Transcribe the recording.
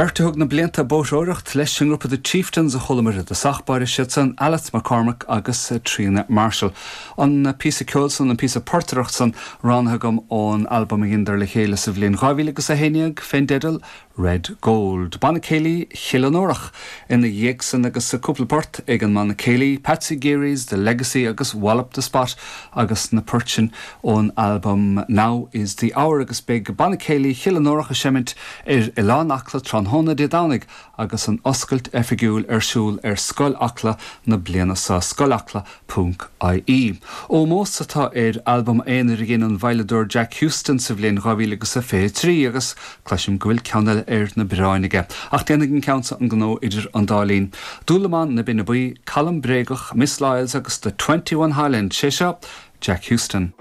Beirt a thug na blianta ag bóithreoireacht leis an ngrúpa The Chieftains a chualamar i dtosach báire, siad san Alice McCormack agus Tríona Marshall. An píosa ceoil san, an píosa portaireacht san, roghnaithe agam ón albam a dheineadar le chéile sa bhliain 2011 fén dteideal Red Gold. Banna Céilí Chill Fhionnúrach ina dhiaidh san agus cúpla port ag an mbanna céilí, Patsy Geary's The Legacy agus Wallop the Spot agus na poirt sin ón albam Now Is The Hour agus beidh Banna Céilí Chill Fhionnúrach ag seimint ar Oileán Acla tráthnóna Dé Domhnaigh agus an oscailt oifigiúil ar siúl ar Scoil Acla na bliana seo, scoilacla ponc ie. Ómós atá ar albam aonair a dhein an veidhleadóir Jack Huston sa bhliain 2023 agus cloisim go bhfuil ceann eile ar na bioráin aige. Ach déanfaidh an ceann seo an gnó idir an dá linn. Dúlamán na Binne Buí, Colm Bréagach, Miss Lyles agus The 21 Highland, sé seo Jack Huston.